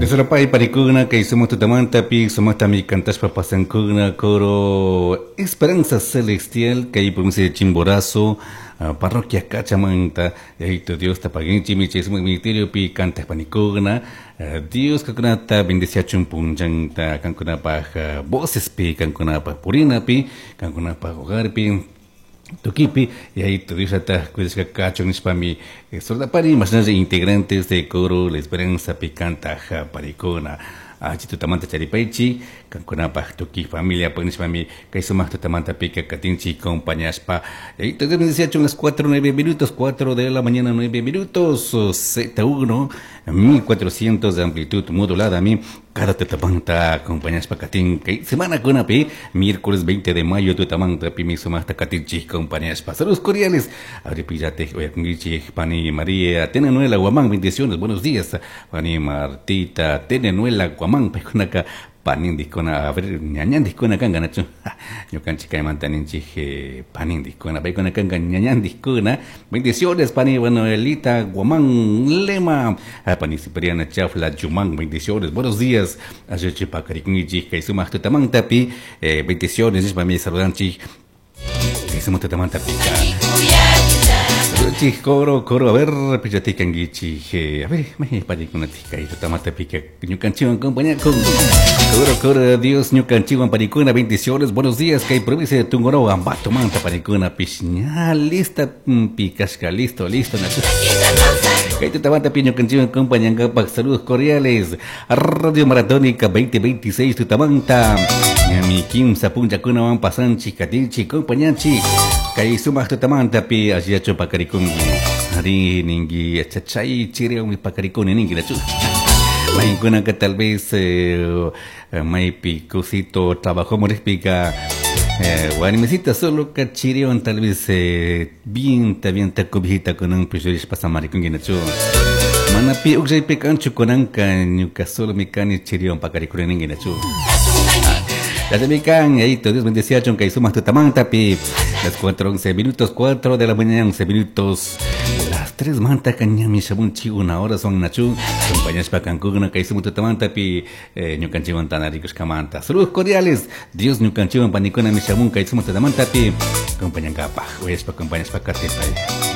Diosllapay parikuna kay sumaq tutamantapi sumaqtami cantashpa pasankuna coro Esperanza Celestial kay provincia de Chimborazo, parroquia Cachamanta. Yayito Diosta paginchimi chay sumaq ministeriopi cantaq panikuna. Dios kankunata bendeciachun punchanta kankunapaj vocespi, kankunapaj purinapi, kankunapaj hogarpi, tukipi. Yayito Diosllataj cuidashka kachun nishpami sordapari mashnalla integrantes de coro La Esperanza pi cantaq parikuna. Achi tutamanta charipaychi kankunapaj tuki familia nishpami kay sumaq tutamanta pika katinchi acompañashpa. Yayito Dios bendeciachun. Las 4:09 minutos, 4 de la mañana 9 minutos, Z1 1400 de amplitud modulada mi cada tutamanta acompañashpa katin kay semana kunapi miércoles 20 de mayo tutamanta pi sumaqta katinchik acompañashpa. Saludos cordiales. Abripillate oyakunkichik pani María Tenenuela Guamán, bendiciones, buenos días. Pani Martita Tenenuela Guamán, paykunaka panindikuna, a ver, ñañandikuna kanka nachu. Ñukanchik kaymanta ninchik panindikuna, paykuna kanka ñañandikuna. Bendiciones pani Manuelita Guamán Lema, pani Cipriana Chafla Yumán, bendiciones, buenos días. Ayochi pakarikunkichik kay sumaq tutamantapi, bendiciones nishpami saludanchik kay sumaq tutamantapi. Saludanchik coro, coro, a ver, pillatikankichik, a ver, mahi parikunatik kay tutamantapi ñukanchikwan compañía con coro, coro, Dios ñukanchikwan parikuna, bendiciones, buenos días, kay provincia de Tungurahua, Ambato manta parikuna, pish ña lista, pikashka, listo, listo, nachu. Kay tutamanta ñukanchikwan compañankapak, saludos cordiales, Radio Maratónica 2026 tutamanta, ñami kimsa punchakunawan pasanchik, katinchik, compañanchik, kay sumaq tutamantapi allillachu pakarikunki, ari ninki chachay chiriwanmi pakarikuni ninki nachu. Maykunaka tal vez maypi kusito trabajo morishpika, warmisita solo ka chiriwan tal vez bien bien cobijita kunanpi rishpa samarikunki nachu. Mana pi ukllaypi kanchu kunanka ñuka solo mi kani chiriwan pakarikuni ninki nachu. Ya se me can, ahí Dios bendecía kay sumaq tutamantapi. Las 4:11 minutos, 4 de la mañana, 11 minutos. Las 3 manta cañami shamunchi, una hora son nachu. Compañeros pa kankuna kay sumaq tutamantapi, ñukanchikwan tanarikushkamanta. Saludos cordiales. Dios ñukanchikwan panikuna mi shamun kay sumaq tutamantapi. Compañankapaj, uyashpa compañashpa katipay.